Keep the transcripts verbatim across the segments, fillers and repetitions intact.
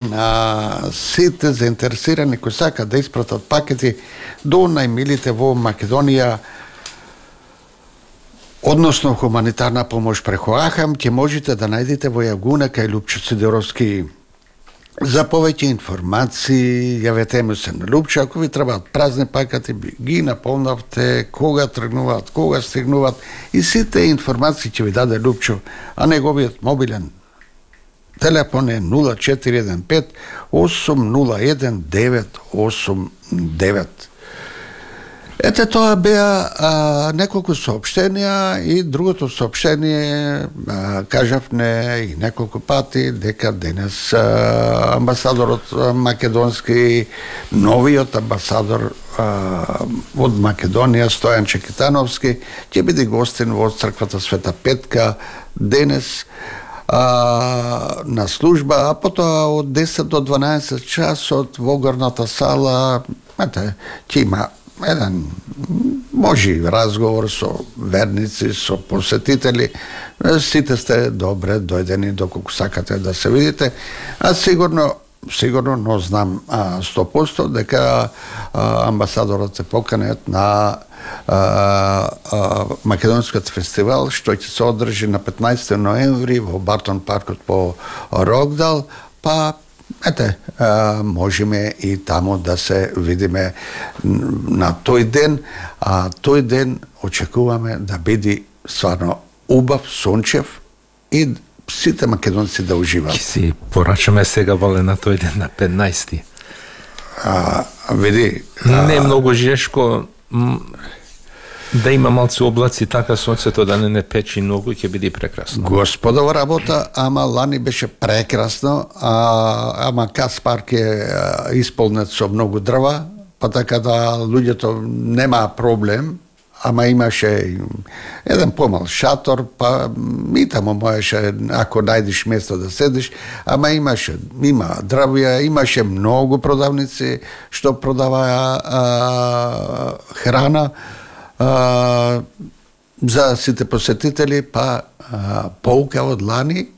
на сите заинтересирани кои сакаат да испратат пакети до најмилите во Македонија, односно хуманитарна помош преку Ахам, ќе можете да најдете во Јагуна кај Лупчо Сидоровски. За повеќе информации, јавете му се на Лупчо, ако ви требаат празни пакети, ги наполнавте, кога тргнуваат, кога стигнуваат, и сите информации ќе ви даде Лупчо, а неговиот мобилен телефон е нула четири еден пет осум нула еден девет осум девет. Ете, тоа беа а, неколку соопштенија, и другото соопштение, а, кажавме и неколку пати дека денес а, амбасадорот македонски, новиот амбасадор а, од Македонија, Стојан Чекитановски, ќе биде гостин во црквата Света Петка денес а, на служба, а потоа од десет до дванаесет часот во горната сала, ете, ќе има еден можи разговор со верници, со посетители. Сите сте добре дојдени доколку сакате да се видите, а сигурно сигурно, но знам а, сто проценти дека а, амбасадорот се поканет на а, а, Македонскиот фестивал, што ќе се одржи на петнаесети ноември во Бартон паркот по Рокдал, па ете, а, можеме и таму да се видиме на тој ден, а тој ден очекуваме да биде стварно убав, сончев и сите македонци да уживаат. Ки си порачаме сега, Вале, на тој ден на петнаесети. А, види... А... Не е многу жешко, да има малци облаци, така сонцето да не не печи многу, ќе биде прекрасно. Господова работа, ама лани беше прекрасно, а, ама Каспарк е исполнет со многу дрва, па така да луѓето нема проблем, ама имаше еден помал шатор, па и таму можеше, ако најдеш место да седиш, ама имаше, има дрвја, имаше многу продавници што продаваа а, храна, а, за сите посетители, па а, поука од лани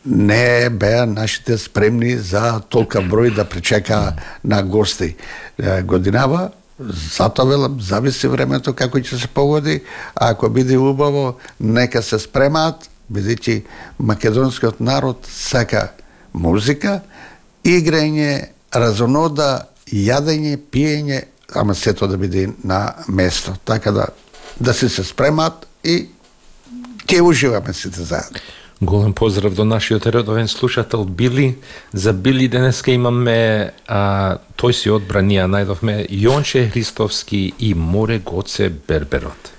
не беа нашите спремни за толка број да причека на гости. Годинава, затоа велам, зависи времето како ќе се погоди, а ако биде убаво, нека се спремаат, бидејќи македонскиот народ сака музика, играње, разонода, јадење, пиење, ама сето да биде на место. Така да да се се спремаат и ќе уживаме сите заедно. Голем поздрав до нашиот редовен слушател Били. За Били денеска имаме, а, тој си одбра, ние најдовме Јонче Христовски и Море Гоце Берберот.